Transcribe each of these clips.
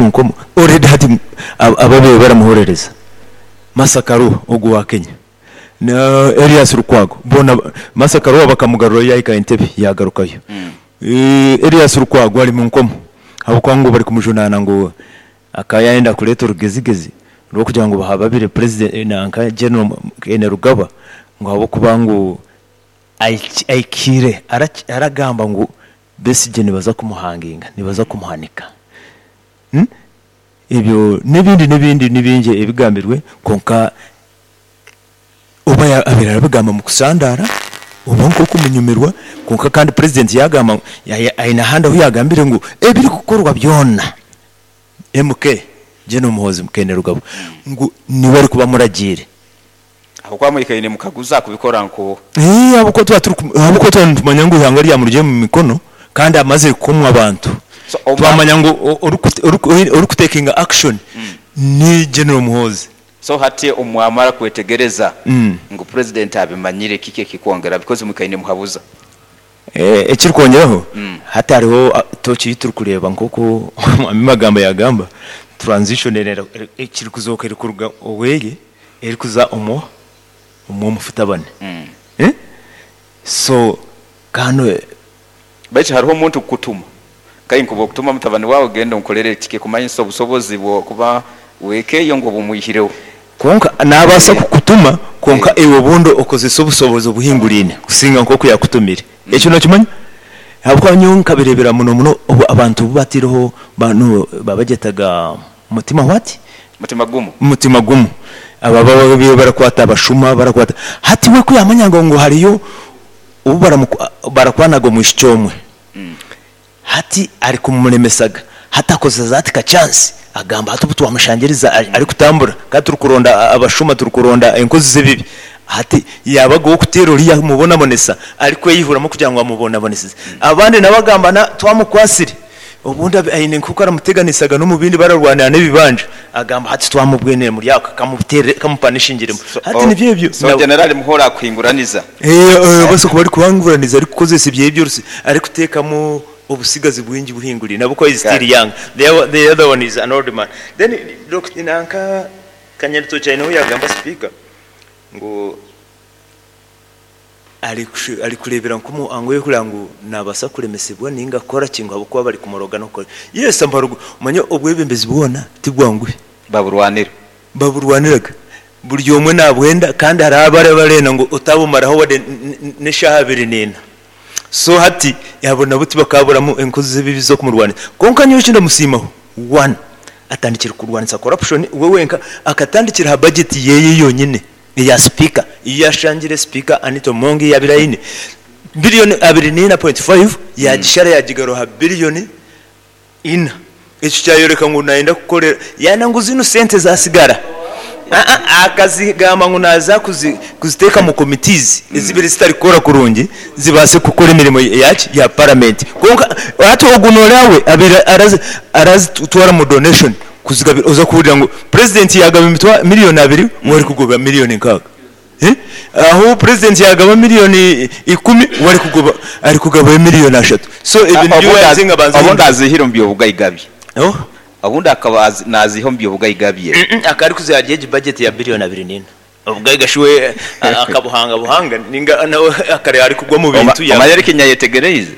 Nkomo already hati ababaire baramuhorereza Martha Karua ogu owa Kenya na Erias Lukwago boona Martha Karua bakamugarurayo yahika Entebbe yagarukayo. Erias Lukwago ari munkomo ahabw'okuba ngu barikumujunaana ngu akaba yayenda kureeta orugezigezi rw'okugira ngu bahababire president nanka General Kainerugaba ngu ahabw'okuba ngu ahikiire aragamba ngu Besigye nibaza kumuhanginga, nibaza kumuhanika. Ebyo n'ebindi n'ebindi ni bingi ebigambirwe kwonka oba abaire arabigamba omu kusandaara oba nk'okumunyumirwa kwonka kandi purezidenti yaagamba ngu aine ahandi ahu yaagambire ngu ebirikukorwa byona MK General Muhoozi Kainerugaba ngu niwe arikuba amuragiire. Ahabw'okuba mwikaire nimukaguza kubikora nk'oha? Eeh ahabw'okuba twaba turi ahabw'okuba twaba nitumanya ngu eihanga ryamurugire omu mikono kandi amazire kukomwa abantu, So omwa twamanya ngu orikutekinga action ni General Muhoozi. So hati omwamara kwetegereza ngu president abimanyire kiki ekikwongera because mwikaire nimuhabuza? Ekirikwongyeraho, hati hariho tooki ei turikureeba nk'oku Omwami Magamba yaagamba, transition ekirikuzooka erikuruga oweye erikuza omu ow'omufutabani. So kandi. Baitu hariho omuntu kukutuma, kai nkuba okutuma mutabani waawe genda onkorere eki, kikumanyisa obusobozi bw'okuba w'eka eyo ngu obumwihireho. Kwonka naabaasa kukutuma, kwonka iwe obundi okozese obusobozi obuhinguraine kusinga nk'oku yaakutumire. Ekyo nookimanya? Ahabw'okuba nyowe nkabireebera muno muno obu abantu obu baataireho banu baabagyetaga mutima what? Mutima gumu. Mutima gumu. Abo ababaire barakwata abashuma, barakwata. Hati we ku yaamanyaga ngu hariyo obu barakwanaga omwishiki omwe, Hati arikumuremesa hati akozesa ati ka chance agamba hati obu twamushangiriza arikutambura kandi turikuronda abashuma turikuronda enkozi z'ebibi hati yaabaga ow'okuteera oriya amubonabonesa arikweyihuramu kugira ngu amubonabonesize. Abandi nabo agamba na twamukwasire obundi aine nk'oku aramuteganisaga n'omu bindi bararwanira n'ebibanja agamba hati twamubwenire omuri ako kamuteere kamupanishingiremu. Hati nibyo ebyo. So General Muhoola akuhinguraniza. Abaasa kuba arikuhanguraniza arikukozesa ebyeye by'orusi arikuteekamu obutsigazi bwingi buhinguriine ahabw'okuba is still young the other one is an old man. Then nanka Kanyaritookye aine obu yaagamba sipiika ngu arikureebera nk'omuhango orikureeba ngu naabaasa kuremesibwa nainga kukora ki ngu ahabw'okuba barikumuroga n'okukora ki. Yes ambarogo omanye obwebembezi bwona tibwanguhi. Baburwanira. Baburwaniraga. Buri omwe nabwenda kandi hariho abari abarenda ngu otabumaraho wade n'eshaaha abiri n'ena. So hati abo nabo tibakaburamu enkozi z'ebibi z'okumurwanisa. Kwonka nyowe eki ndamusiimaho, one, atandikire kurwanisa corruption we wenka akatandikira aha budget yeye yonyine eya sipiika ei yashangire sipiika Anita Among ei yabaire aine, billion abiri n'ena point five yagishara yagigarura aha billion ina. Ekyo kyayoreka ngu nayenda kukorera yaana ngu zinu sente zasigara aa akazigamba ngu naza kuziteeka mu committees ezibaire zitari kukora kurungi zibaase kukora emirimo yaki ya parliament kwonka hati ogu noreeba we abaire arazitwara mu donation kuzigabira oza kuhurira ngu president yagaba million abiri we arikugoba million nkaaga. Ahu purezidenti yaagaba miriyoni ikumi, we arikugoba arikugabayo miriyoni ashatu. So ebyo nibyo yaaherize ngu abanze Obundi ahindure. aziihire omu by'obugaiga bye. Oh. Obundi akaba naaziiha omu by'obugaiga bye. Akaba arikuziha ahari egi bajeti ya biriyoni abiri n'ina. Obugaiga shi we akabuhanga buhanga ninga nawe akareeba arikugwa omu bintu Omanyire eki nyayetegereize?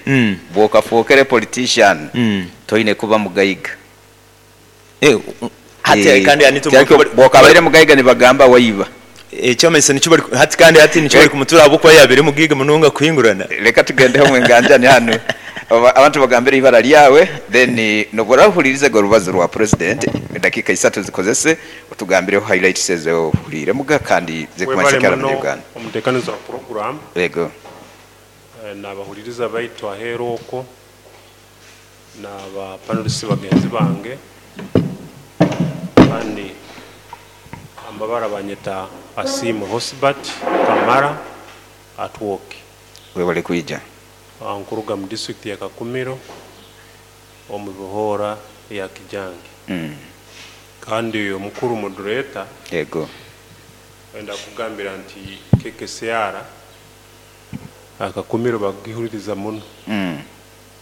Bw'okafookere politician, toine kuba mugaiga. Hati kandi hati Bwokabaire mugaiga nibagamba waiba. Ekyamanyisa nikyo bari hati kandi hati nikyo bari kumutura ahabw'okuba yabaire mugaiga munonga kuhingurana. Reka tugendeho omu enganjani hanu abantu bagambire eibara ryawe then nobu orahuririzege orubazo rwa president edakiika isatu zikozese otugambireho highlights ezi ohuriiremuga kandi zirikumanyisa Webale ki ahari muno Abanya-Uganda. omutekaniza wa puroguramu. Yego. Nabahuririza baitu aheeru okwo. Na ba panelist bagenzi bange kandi amabara banyeta Asiimwe Hosbert Kamara Atwoki. Webale kwija. Nkuruga mu district ya Kakumiro omu bihoora ya Kijangi. Kandi omukuru moderator. Yego. Kwenda kugambira nti KKCR Kakumiro bagihuririza muno.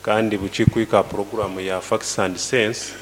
Kandi bukikwika aha puroguraamu ya Facts and Sense,